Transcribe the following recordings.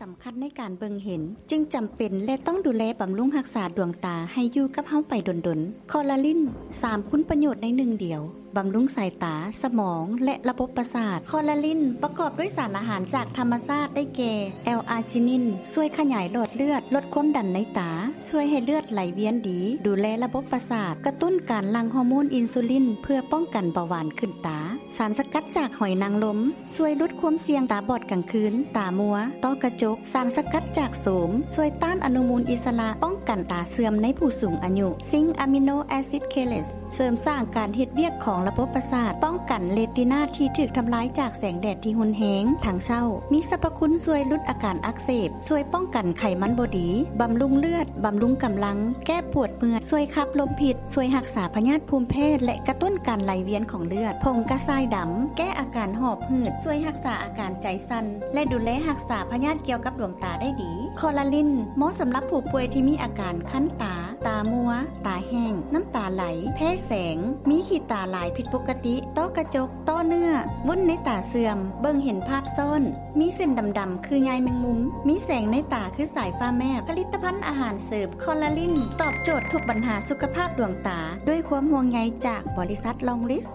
ສຳຄັນໃນການເບິ່ງເຫັນ ຈຶ່ງຈຳເປັນ ແລະ ຕ້ອງດູແລບຳລຸງຮັກສາດວງຕາໃຫ້ຢູ່ກັບເຮົາໄປດົນໆ. ຄໍລາລິນ ສາມຄຸນປະໂຫຍດໃນໜຶ່ງດຽວ, ບຳລຸງສາຍຕາ, ສະໝອງ ແລະ ລະບົບປະສາດ. ຄໍລາລິນປະກອບດ້ວຍສານອາຫານຈາກທຳມະຊາດ ໄດ້ແກ່ ແອລອາຈິນິນ ຊ່ວຍຂະຫຍາຍຫຼອດເລືອດ, ລົດຄວາມດັນໃນຕາ, ຊ່ວຍໃຫ້ເລືອດໄຫຼວຽນດີ, ດູແລລະບົບປະສາດ, ກະຕຸ້ນການຫຼັ່ງຮໍໂມນອິນຊູລິນ ເພື່ອປ້ອງກັນເບົາຫວານຂຶ້ນຕາ. ສານສະກັດຈາກຫອຍນາງລົມ ຊ່ວຍຫຼຸດຄວາມສ່ຽງຕາບອດກາງຄືນ, ຕາມົວ, ຕ້ອກະຈົກ. ສານສະກັດຈາກໂສມ ຊ່ວຍຕ້ານອະນຸມູນອິດສະຫຼະ, ປ້ອງກັນຕາເສື່ອມໃນຜູ້ສູງອາຍຸ. ຊິງອາມິໂນແອຊິດເຄເລດ ເສີມສ້າງການເຮັດວຽກຂອງລະບົບປະສາດ, ປ້ອງກັນເຣຕີນາທີ່ຖືກທຳລາຍຈາກແສງແດດທີ່ຮຸນແຮງທັງເຊົ້າ. ມີສັບພະຄຸນຊ່ວຍຫຼຸດອາການອັກເສບ, ຊ່ວຍປ້ອງກັນໄຂມັນບໍ່ດີ, ບຳລຸງເລືອດ, ບຳລຸງກຳລັງ, ແກ້ປວດເມື່ອຍ, ຊ່ວຍຂັບລົມພິດ, ຊ່ວຍຮັກສາພະຍາດພູມແພ້ ແລະ ກະຕຸ້ນການໄຫຼວຽນຂອງເລືອດ. ຜົງກະຊາຍດຳ ແກ້ອາການຫອບຫືດ, ຊ່ວຍຮັກສາອາການໃຈສັ່ນ ແລະ ດູແລຮັກສາພະຍາດກ່ຽວກັບດວງຕາໄດ້ດີ. ຄໍລາລິນ ເໝາະສຳລັບຜູ້ປ່ວຍທີ່ມີອາການຄັນຕາ, ຕາມົວ, ຕາແຫ້ງ, ນ້ຳຕາໄຫຼ, ແພ້ແສງ, ມີຂີ້ຕາຫຼາຍຜິດປົກກະຕິ, ຕ້ອກະຈົກ, ຕ້ອເນື້ອ, ວຸ້ນໃນຕາເສື່ອມ, ເບິ່ງເຫັນພາບຊ້ອນ, ມີເສັ້ນດຳໆຄືໃຍແມງມຸມ, ມີແສງໃນຕາຄືສາຍຟ້າແມບ. ຜະລິດຕະພັນອາຫານເສີມຄໍລາລິນ ຕອບໂຈດທຸກບັນຫາສຸຂະພາບດວງຕາ ດ້ວຍຄວາມຫ່ວງໃຍຈາກບໍລິສັດລອງລິສ.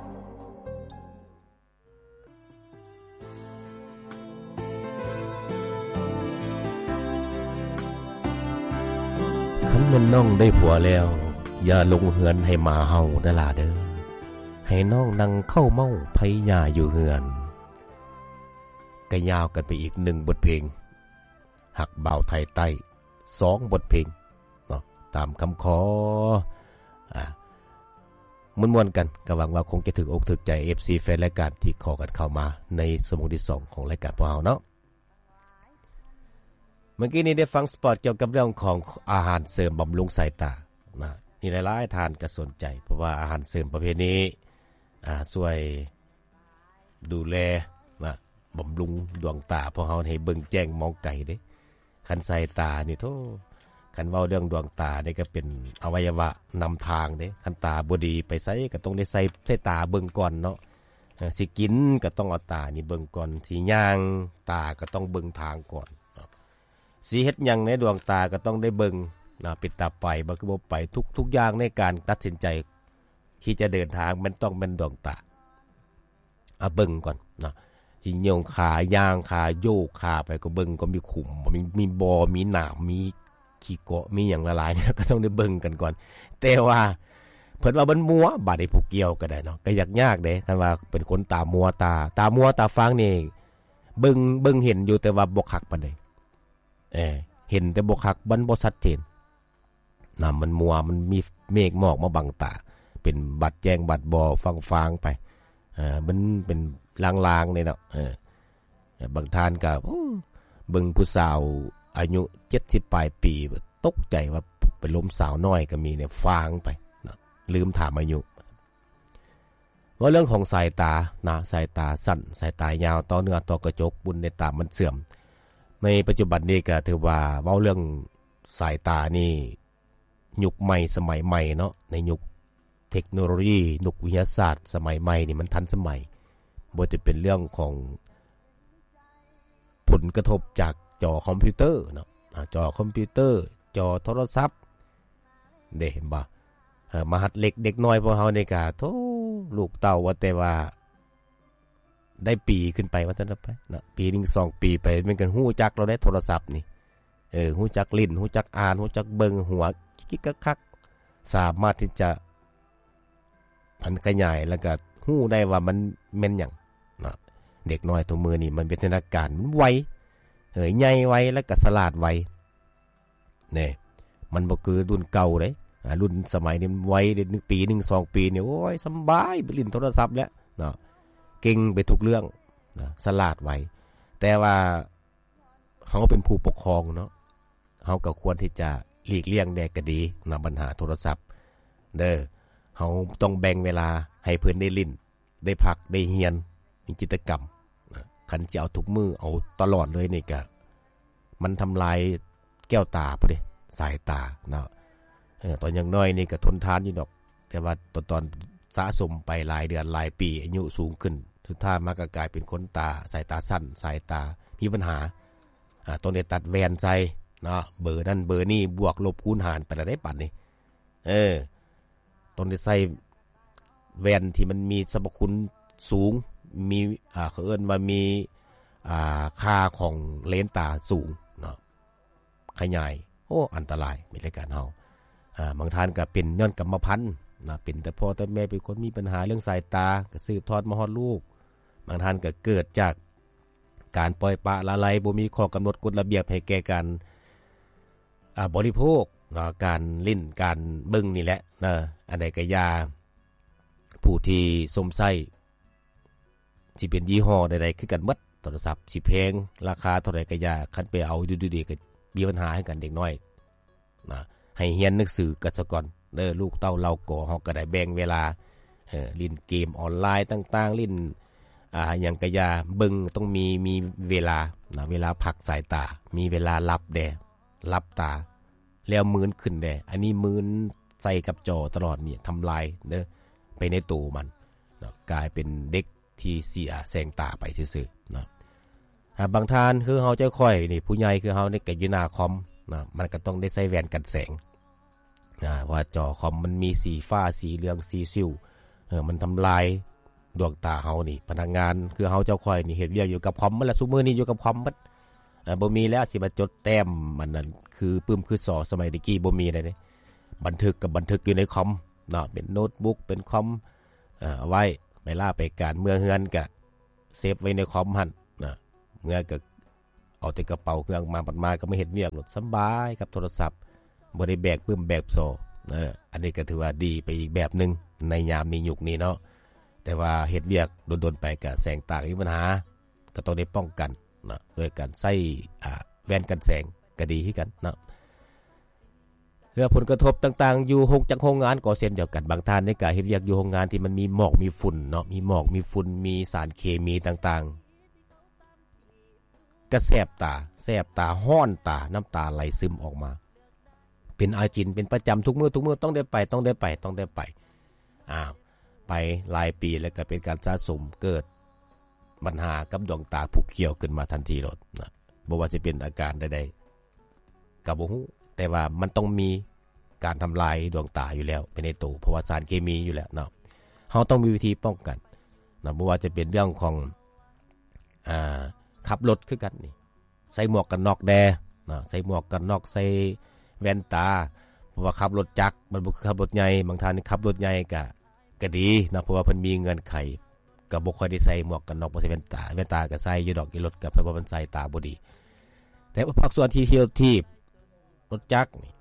ຄັນແມ່ນນ້ອງໄດ້ຜົວແລ້ວ ຢ່າລົງເຮືອນໃຫ້ໝາເຫົ່າເດີຫຼ້າເດີ. ໃຫ້ນ້ອງນັ່ງເຂົ້າເມົາໄພຫຍ້າຢູ່ເຮືອນ. ກະຍາວກັນໄປອີກໜຶ່ງບົດເພງ ຮັກບ່າວໄທໃຕ້ ສອງບົດເພງເນາະ ຕາມຄຳຂໍ ອາ ມ່ວນໆກັນ. ກະຫວັງວ່າຄົງຈະຖືກອົກຖືກໃຈ ເອັຟຊີ ແຟນລາຍການທີ່ຂໍກັນເຂົ້າມາໃນຊົ່ວໂມງທີສອງຂອງລາຍການພວກເຮົາເນາະ. ເມື່ອກີ້ນີ້ໄດ້ຟັງສະປອດກ່ຽວກັບເລື່ອງຂອງອາຫານເສີມບຳລຸງສາຍຕານະ ນີ້ຫຼາຍໆທ່ານກະສົນໃຈ ເພາະວ່າອາຫານເສີມປະເພດນີ້ ອາ ຊ່ວຍດູແລນະ ບຳລຸງດວງຕາພວກເຮົາໃຫ້ເບິ່ງແຈ້ງມອງໄກເດ້. ຄັນສາຍຕານີ້ໂທ້ ຄັນເວົ້າເລື່ອງດວງຕານີ້ກະເປັນອະໄວຍະວະນຳທາງເດ້. ຄັນຕາບໍ່ດີໄປໃສກະຕ້ອງໄດ້ໃສ່ ໃສ່ຕາເບິ່ງກ່ອນເນາະ. ເອີ ຊິກິນກະຕ້ອງເອົາຕານີ້ເບິ່ງກ່ອນ, ຊິຍ່າງຕາກະຕ້ອງເບິ່ງທາງກ່ອນເນາະ. ຊິເຮັດຫຍັງໃນດວງຕາກະຕ້ອງໄດ້ເບິ່ງນະ ເປັນຕາໄປບໍ່ ຄືບໍ່ໄປ. ທຸກ ທຸກຢ່າງໃນການຕັດສິນໃຈທີ່ຈະເດີນທາງ ແມ່ນຕ້ອງແມ່ນດວງຕາ ອາ ເບິ່ງກ່ອນເນາະ. ຊິໂຍງຂາ ຍ່າງຂາ ໂຍກຂາໄປກະເບິ່ງກ່ອນ ມີຂຸມບໍ່ ມີ ມີບໍ່ ມີໜາມ ມີຂີ້ເກາະ ມີຫຍັງຫຼາຍໆ ກະຕ້ອງໄດ້ເບິ່ງກັນກ່ອນ. ແຕ່ວ່າເພິ່ນວ່າມັນມົວ ບາດນີ້ຜູ້ກ່ຽວກະໄດ້ເນາະ ກະຢາກຍາກເດ້. ຄັນວ່າເປັນຄົນຕາມົວ ຕາ ຕາມົວຕາຟາງນີ້ ເບິ່ງ ເບິ່ງເຫັນຢູ່ ແຕ່ວ່າບໍ່ຄັກປານໃດ. ເອີ ເຫັນແຕ່ບໍ່ຄັກ ມັນບໍ່ຊັດເຈນນະ ມັນມົວ ມັນມີເມກໝອກມາບັງຕາ ເປັນບາດແຈ້ງບາດບໍ່ຟາງໆໄປ. ເອີ ມັນເປັນລາງໆນີ້ເນາະ. ເອີ ບາງທ່ານກະ ໂອ້ ເບິ່ງຜູ້ສາວອາຍຸເຈັດສິບປາຍປີ ຕົກໃຈວ່າໄປລົມສາວນ້ອຍກະມີເນຍ ຟາງໄປເນາະ ລືມຖາມອາຍຸ. ເວົ້າເລື່ອງຂອງສາຍຕານະ ສາຍຕາສັ້ນ ສາຍຕາຍາວ ຕໍ່ເນື້ອຕໍ່ກະຈົກ ບຸນໃນຕາມັນເສື່ອມ. ໃນປັດຈຸບັນນີ້ກະຖືວ່າເວົ້າເລື່ອງສາຍຕານີ້ ຍຸກໃໝ່ສະໄໝໃໝ່ເນາະ ໃນຍຸກເທັກໂນໂລຢີ ຍຸກວິທະຍາສາດສະໄໝໃໝ່ນີ້ ມັນທັນສະໄໝ. ບໍ່ວ່າຈະເປັນເລື່ອງຂອງ ຜົນກະທົບຈາກຈໍຄອມພິວເຕີເນາະ ອາ ຈໍຄອມພິວເຕີ ຈໍໂທລະສັບເດ້ ເຫັນບໍ່? ເອີ ມະຫັດເລັກເດັກນ້ອຍພວກເຮົານີ້ກະ ໂທ້ ລູກເຕົ້າວ່າແຕ່ວ່າໄດ້ປີຂຶ້ນໄປ ວ່າຊັ້ນໄປເນາະ ປີໜຶ່ງສອງປີໄປ ແມ່ນກະຮູ້ຈັກແລ້ວເດ້ ໂທລະສັບນີ້. ເອີ ຮູ້ຈັກຫຼິ້ນ ຮູ້ຈັກອ່ານ ຮູ້ຈັກເບິ່ງ ຫົວກິກໆຄັກໆ ສາມາດທີ່ຈະ ພັນຂະຫຍາຍ ແລ້ວກະຮູ້ໄດ້ວ່າມັນແມ່ນຫຍັງເນາະ. ເດັກນ້ອຍທຸກມື້ນີ້ມັນວິວັດທະນາການມັນໄວ ເອີ ໃຫຍ່ໄວ ແລ້ວກະສະຫຼາດໄວເນາະ. ມັນບໍ່ຄືລຸ້ນເກົ່າເດ້ ອາ ລຸ້ນສະໄໝນີ້ມັນໄວເດ້ ໜຶ່ງປີ ໜຶ່ງສອງປີນີ້ ໂອ້ຍ ສຳບາຍ ໄປຫຼິ້ນໂທລະສັບແລ້ວເນາະ ເກັ່ງໄປທຸກເລື່ອງເນາະ ສະຫຼາດໄວ. ແຕ່ວ່າ ເຮົາເປັນຜູ້ປົກຄອງເນາະ ເຮົາກະຄວນທີ່ຈະຫຼີກລ່ຽງແດ່ກະດີນະ ບັນຫາໂທລະສັບເດີ. ເຮົາຕ້ອງແບ່ງເວລາໃຫ້ເພິ່ນໄດ້ຫຼິ້ນ ໄດ້ພັກ ໄດ້ຮຽນ ມີກິດຈະກຳນະ. ຄັນຊິເອົາທຸກມື້ ເອົາຕະຫຼອດເລີຍນີ້ກະ ມັນທຳລາຍແກ້ວຕາພຸ້ນເດ້ ສາຍຕາເນາະ. ເອີ ຕອນຍັງນ້ອຍນີ້ກະທົນທານຢູ່ດອກ ແຕ່ວ່າຕອນ ຕອນສະສົມໄປຫຼາຍເດືອນຫຼາຍປີ ອາຍຸສູງຂຶ້ນ ສຸດທ້າຍມາກະກາຍເປັນຄົນຕາ ສາຍຕາສັ້ນ ສາຍຕາມີບັນຫາ. ອາ ຕ້ອງໄດ້ຕັດແວ່ນໃສ່ເນາະ ເບີນັ້ນເບີນີ້ ບວກລົບຄູນຫານໄປແລ້ວເດ້ບັດນີ້ ເອີ ຕ້ອງໄດ້ໃສ່ແວ່ນທີ່ມັນມີສັບພະຄຸນສູງ ມີ ອາ ເຂົາເອີ້ນວ່າມີ ອາ ຄ່າຂອງເລນຕາສູງເນາະ ຂະຫຍາຍ ໂອ້ ອັນຕະລາຍ ມີລາຍການເຮົາ ອາ ບາງທ່ານກໍເປັນຍ້ອນກຳມະພັນນະ ເປັນແຕ່ພໍ່ແຕ່ແມ່ ເປັນຄົນມີບັນຫາເລື່ອງສາຍຕາ ກໍສືບທອດມາຮອດລູກ ບາງທ່ານກໍເກີດຈາກການປ່ອຍປະລະໄລ ບໍ່ມີຂໍ້ກຳນົດກົດລະບຽບໃຫ້ແກ່ການ ອາ ບໍລິໂພກເນາະ ການຫຼິ້ນ ການເບິ່ງນີ້ແຫຼະເນາະ ອັນໃດກໍຢ່າ ຜູ້ທີ່ຊົມໃຊ້ ຊິເປັນຍີ່ຫໍ້ໃດໆຄືກັນໝົດ ໂທລະສັບຊິແພງ ລາຄາເທົ່າໃດກໍຢ່າ ຄັນໄປເອົາຢູ່ດີໆກໍມີບັນຫາໃຫ້ກັນເດັກນ້ອຍນະ ໃຫ້ຮຽນໜັງສືກັນສາກ່ອນເດີ ລູກເຕົ້າເຫຼົ່າກໍ ເຮົາກໍໄດ້ແບ່ງເວລາ ເອີ ຫຼິ້ນເກມອອນລາຍຕ່າງໆ ຫຼິ້ນ ອາ ຫຍັງກະຢ່າ ເບິ່ງຕ້ອງມີ ມີເວລານະ ເວລາພັກສາຍຕາ ມີເວລາຫຼັບແດ່ ຫຼັບຕາ ແລ້ວມືນຂຶ້ນແດ່ ອັນນີ້ມືນໃສ່ກັບຈໍຕະຫຼອດນີ້ ທຳລາຍເດີ ໄປໃນໂຕມັນເນາະ ກາຍເປັນເດັກທີ່ເສຍແສງຕາໄປຊື່ໆເນາະ. ຫາບາງທ່ານຄືເຮົາເຈົ້າຂ້ອຍນີ້ ຜູ້ໃຫຍ່ຄືເຮົານີ້ ກະຢູ່ໜ້າຄອມເນາະ ມັນກະຕ້ອງໄດ້ໃສ່ແວ່ນກັນແສງ ອາ ວ່າຈໍຄອມມັນມີສີຟ້າ ສີເຫຼືອງ ສີສິວ ເອີ ມັນທຳລາຍ ດວງຕາເຮົານີ້ ພະນັກງານຄືເຮົາເຈົ້າຂ້ອຍນີ້ ເຮັດວຽກຢູ່ກັບຄອມໝົດລະ ຊຸມື້ນີ້ຢູ່ກັບຄອມໝົດ ເອີ ບໍ່ມີແລ້ວຊິມາຈົດແຕ້ມ ອັນນັ້ນຄືປຶ້ມຄືສໍສະໄໝແຕ່ກີ້ ບໍ່ມີແລ້ວເດ້ ບັນທຶກກໍບັນທຶກຢູ່ໃນຄອມເນາະ ເປັນໂນ້ດບຸກ ເປັນຄອມ ເອີ ເອົາໄວ້ ໄປລາໄປການ ເມືອເຮືອນກໍເຊບໄວ້ໃນຄອມຫັ້ນນະ ເມືອກໍ ເອົາແຕ່ກະເປົາເຄື່ອງມາ ບັດມາກໍມາເຮັດວຽກໂລດ ສະບາຍກັບໂທລະສັບ ບໍ່ໄດ້ແບກປຶ້ມແບກສໍ ເອີ ອັນນີ້ກໍຖືວ່າດີໄປອີກແບບໜຶ່ງ ໃນຍາມນີ້ຍຸກນີ້ເນາະ ແຕ່ວ່າເຮັດວຽກດົນໆໄປກະແສງຕາມີບັນຫາ ກໍຕ້ອງໄດ້ປ້ອງກັນເນາະ ດ້ວຍການໃຊ້ ອາ ແວ່ນກັນແສງກໍດີຄືກັນເນາະ. ເລື່ອງຜົນກະທົບຕ່າງໆ ຢູ່ໂຮງຈັກໂຮງງານກໍເຊັ່ນດຽວກັນ ບາງທ່ານນີ້ກະເຮັດວຽກຢູ່ໂຮງງານທີ່ມັນມີໝອກມີຝຸ່ນເນາະ ມີໝອກມີຝຸ່ນ ມີສານເຄມີຕ່າງໆ ກະແສບຕາ ແສບຕາ ຮ້ອນຕາ ນ້ຳຕາໄຫຼຊຶມອອກມາ ເປັນອາຈິນເປັນປະຈຳທຸກມື້ ທຸກມື້ ຕ້ອງໄດ້ໄປ ຕ້ອງໄດ້ໄປ ຕ້ອງໄດ້ໄປ ອ້າວ ໄປຫຼາຍປີແລ້ວກະເປັນການສະສົມ ເກີດບັນຫາກັບດວງຕາຜູ້ກ່ຽວຂຶ້ນມາທັນທີໂລດນະ ບໍ່ວ່າຈະເປັນອາການໃດໆ ກໍບໍ່ຮູ້ ແຕ່ວ່າມັນຕ້ອງມີການທຳລາຍດວງຕາຢູ່ແລ້ວ ໄປໃນໂຕ ເພາະວ່າສານເຄມີຢູ່ແລ້ວເນາະ ເຮົາຕ້ອງມີວິທີປ້ອງກັນເນາະ ບໍ່ວ່າຈະເປັນເລື່ອງຂອງ ອາ ຂັບລົດຄືກັນນີ້ ໃສ່ໝວກກັນນັອກແດ່ເນາະ ໃສ່ໝວກກັນນັອກ ໃສ່ແວ່ນຕາ ເພາະວ່າຂັບລົດຈັກ ມັນບໍ່ຄືຂັບລົດໃຫຍ່ ບາງທ່ານຂັບລົດໃຫຍ່ກະ ກໍດີເນາະ ເພາະວ່າເພິ່ນມີເງື່ອນໄຂ ກໍບໍ່ຄ່ອຍໄດ້ໃສ່ໝວກກັນນັອກ ບໍ່ໃສ່ແວ່ນຕາ ແວ່ນຕາກໍໃສ່ຢູ່ດອກ ຢູ່ລົດກໍເພາະວ່າມັນສາຍຕາບໍ່ດີ ແຕ່ວ່າພາກສ່ວນທີ່ຂີ່ລົດຖີບ ລົດຈັກນີ້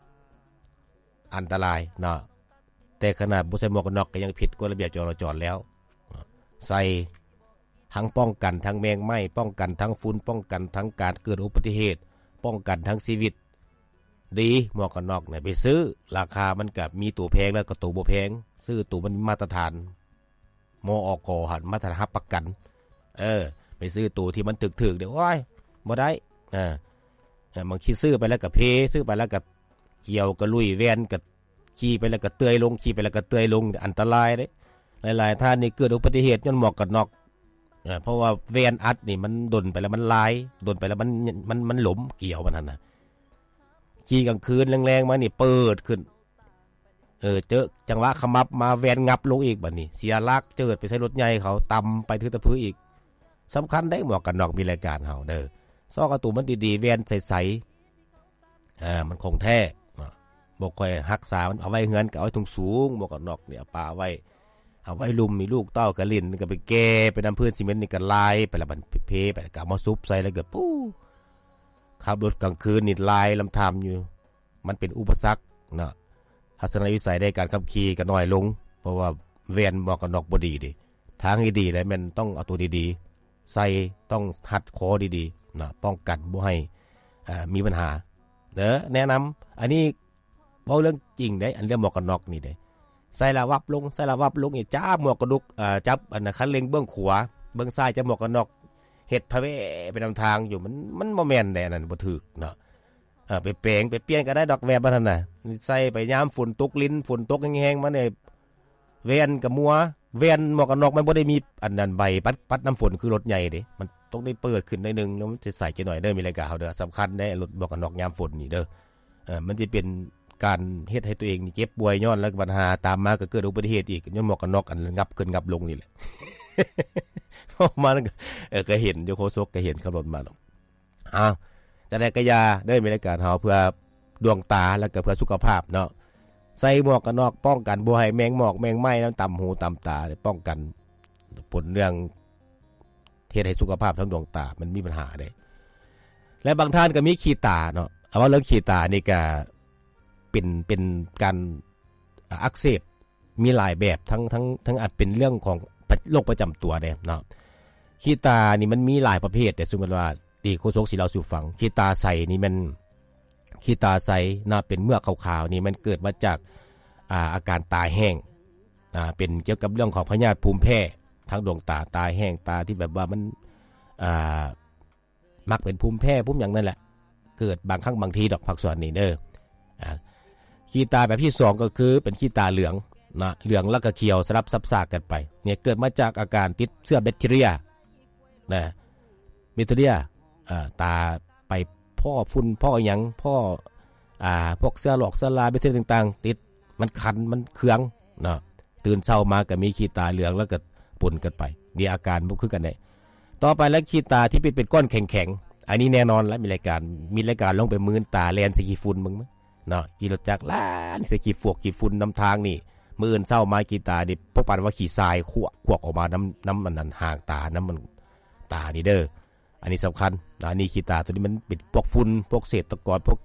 ອັນຕະລາຍເນາະ ແຕ່ຂະໜາດບໍ່ໃສ່ໝວກກັນນັອກກໍຍັງຜິດກົດລະບຽບຈະລາຈອນແລ້ວ ໃສ່ທັງປ້ອງກັນທັງແມງໄມ້ ປ້ອງກັນທັງຝຸ່ນ ປ້ອງກັນທັງການເກີດອຸບັດຕິເຫດ ປ້ອງກັນທັງຊີວິດ ດີ ໝວກກັນນັອກນີ້ໄປຊື້ ລາຄາມັນກະມີໂຕແພງ ແລ້ວກໍໂຕບໍ່ແພງ ຊື້ໂຕມັນມາດຕະຖານ ມອກ ຫັ້ນ ມາດຕະຖານຮັບປະກັນ ເອີ ໄປຊື້ໂຕທີ່ມັນຖືກໆ ເດ້ ໂອ້ຍ ບໍ່ໄດ້ ເອີ ບາງທີຊື້ໄປແລ້ວກໍເພ ຊື້ໄປແລ້ວກໍກ່ຽວ ກໍລຸຍ ແວ່ນກໍຂີ່ໄປແລ້ວກໍເຕີຍລົງ ຂີ່ໄປແລ້ວກໍເຕີຍລົງ ອັນຕະລາຍເດ້ ຫຼາຍໆທ່ານນີ້ເກີດອຸບັດຕິເຫດຍ້ອນໝວກກັນນັອກ ເອີ ເພາະວ່າແວ່ນອັດນີ້ມັນດົນໄປແລ້ວມັນລາຍ ດົນໄປແລ້ວມັນ ມັນ ມັນຫຼົມກ່ຽວມັນຫັ້ນນະ ຂີ່ກາງຄືນແລງໆມານີ້ເປີດຂຶ້ນ ເອີ ເຈີຈັງຫວະຂະໝັບມາແວ່ນງັບລົງອີກ ບາດນີ້ເສຍຫຼັກເຈີດໄປໃສ່ລົດໃຫຍ່ເຂົາ ຕຳໄປຖືຕະພຶອີກ ສຳຄັນເດ້ ໝວກກັນນັອກມີລາຍການເຮົາເດີ ຊອກເອົາໂຕມັນດີໆ ແວ່ນໃສໆ ອາ ມັນຂອງແທ້ເນາະ ບໍ່ຄ່ອຍຮັກສາ ມັນເອົາໄວ້ເຮືອນກໍເອົາໄວ້ສູງໆ ໝວກກັນນັອກນີ້ເອົາປະໄວ້ ເອົາໄວ້ລຸ່ມ ມີລູກເຕົ້າກໍຫຼິ້ນ ກໍໄປແກ່ໄປນຳພື້ນຊີເມັນນີ້ກໍລາຍໄປລະ ມັນເພໄປ ກໍເອົາມາຊຸບໃສ່ ແລ້ວກໍປູ້ ຂັບລົດກາງຄືນນີ້ລາຍລຳທາມຢູ່ ມັນເປັນອຸປະສັກເນາະ ທັດສະນະວິໄສໃນການຂັບຂີ່ກໍໜ້ອຍລົງ ເພາະວ່າແວ່ນໝວກກັນນັອກບໍ່ດີເດ້ ທາງທີ່ດີແລ້ວແມ່ນຕ້ອງເອົາໂຕດີໆໃສ່ ຕ້ອງຮັດຄໍດີໆເນາະ ປ້ອງກັນບໍ່ໃຫ້ ເອີ ມີບັນຫາເດີ ແນະນຳ ອັນນີ້ເວົ້າເລື່ອງຈິງເດ້ ອັນເລື່ອງໝວກກັນນັອກນີ້ເດ້ ໃສ່ລະວັບລົງ ໃສ່ລະວັບລົງ ຈັບໝວກກະນຸກ ເອີ ຈັບອັນຄັນເລັ່ງເບື້ອງຂວາ ເບື້ອງຊ້າຍຈັບໝວກກັນນັອກ ເຮັດພະແວໄປນຳທາງຢູ່ ມັນ ມັນບໍ່ແມ່ນເດ້ ອັນນັ້ນບໍ່ຖືກເນາະ ເອີ ໄປແປງໄປປ່ຽນກໍໄດ້ດອກ ແວ່ນມັນຫັ້ນນະ ໃສ່ໄປຍາມຝົນຕົກລິນ ຝົນຕົກແຮງໆມານີ້ ແວ່ນກໍມົວ ແວ່ນໝວກກັນນັອກມັນບໍ່ໄດ້ມີອັນນັ້ນ ໃບປັດ ປັດນ້ຳຝົນຄືລົດໃຫຍ່ເດ້ ມັນ ຕ້ອງໄດ້ເປີດຂຶ້ນໜ້ອຍໜຶ່ງ ແລ້ວມັນຊິໃສຈັກໜ້ອຍເດີ ມີລາຍການເຮົາເດີ ສຳຄັນເດ້ ລົດໝວກກັນນັອກຍາມຝົນນີ້ເດີ. ເອີ ມັນຊິເປັນການເຮັດໃຫ້ຕົວເອງນີ້ເຈັບປ່ວຍ ຍ້ອນແລ້ວບັນຫາຕາມມາກໍເກີດອຸບັດຕິເຫດອີກ ຍ້ອນໝວກກັນນັອກອັນງັບຂຶ້ນງັບລົງນີ້ແຫຼະ. ເວົ້າມາ ເອີ ກໍເຫັນຢູ່ ໂຄສົກກໍເຫັນຂັບລົດມາເນາະ. ອ້າວ ຈັ່ງໃດກໍຢ່າເດີ ມີລາຍການເຮົາເພື່ອດວງຕາ ແລ້ວກໍເພື່ອສຸຂະພາບເນາະ. ໃສ່ໝວກກັນນັອກປ້ອງກັນບໍ່ໃຫ້ແມງໝອກແມງໄມ້ນຳຕຳຫູຕຳຕາ ປ້ອງກັນຜົນເລື່ອງ ເຮັດໃຫ້ສຸຂະພາບທາງດວງຕາມັນມີບັນຫາເດ້. ແລະ ບາງທ່ານກໍມີຂີ້ຕາເນາະ. ເອົາ ເວົ້າເລື່ອງຂີ້ຕານີ້ກໍເປັນ ເປັນການ ອາ ອັກເສບ ມີຫຼາຍແບບ ທັງ ທັງ ທັງອາດເປັນເລື່ອງຂອງໂລກປະຈຳຕົວເດ້ເນາະ. ຂີ້ຕານີ້ມັນມີຫຼາຍປະເພດເດ້ ສົມມຸດວ່າ ທີ່ໂຄສົກຊິເລົ່າສູ່ຟັງ. ຂີ້ຕາໃສນີ້ແມ່ນ ຂີ້ຕາໃສນະ ເປັນເມືອກຂາວໆ ນີ້ມັນເກີດມາຈາກ ອາ ອາການຕາແຫ້ງ ອາ ເປັນກ່ຽວກັບເລື່ອງຂອງພະຍາດພູມແພ້ທາງດວງຕາ ຕາແຫ້ງ ຕາທີ່ແບບວ່າມັນ ອາ ມັກເປັນພູມແພ້ ພູມຫຍັງນັ້ນແຫຼະ ເກີດບາງຄັ້ງບາງທີດອກ ພາກສ່ວນນີ້ເດີ. ອາ ຂີ້ຕາແບບທີສອງກໍຄືເປັນຂີ້ຕາເຫຼືອງນະ ເຫຼືອງແລ້ວກໍຂຽວສະຫຼັບສັບສາກັນໄປ. ນີ້ເກີດມາຈາກອາການຕິດເຊື້ອແບັກທີເຣຍນະ ແບັກທີເຣຍ ອາ ຕາໄປພໍ້ຝຸ່ນ ພໍ້ຫຍັງ ພໍ້ ອາ ພວກເຊື້ອຫຼອກເຊື້ອລາ ແບັກທີເຣຍຕ່າງໆ ຕິດ ມັນຄັນ ມັນເຄືອງເນາະ. ຕື່ນເຊົ້າມາກໍມີຂີ້ຕາເຫຼືອງ ແລ້ວກໍປົນກັນໄປ ມີອາການບໍ່ຄືກັນເດ້. ຕໍ່ໄປແລ້ວ ຂີ້ຕາທີ່ເປັນ ເປັນກ້ອນແຂງໆ ອັນນີ້ແນ່ນອນລະ ມີລາຍການ ມີລາຍການລອງໄປມື່ນຕາແລ່ນໃສ່ຂີ້ຝຸ່ນເບິ່ງເນາະ. ຂີ່ລົດຈັກແລ່ນໃສ່ຂີ້ຟວກຂີ້ຝຸ່ນນຳທາງນີ້ ມື້ອື່ນເຊົ້າມາຂີ້ຕານີ້ ພວກປານວ່າຂີ້ຊາຍຄວກ ຄວກອອກມານຳ ນຳອັນນັ້ນ ຫາງຕາ ນຳມັນ ຕານີ້ເດີ. ອັນນີ້ສຳຄັນ ອັນນີ້ຂີ້ຕາຕົວນີ້ມັນເປັນພວກຝຸ່ນ ພວກເສດຕະກອນ ພວກ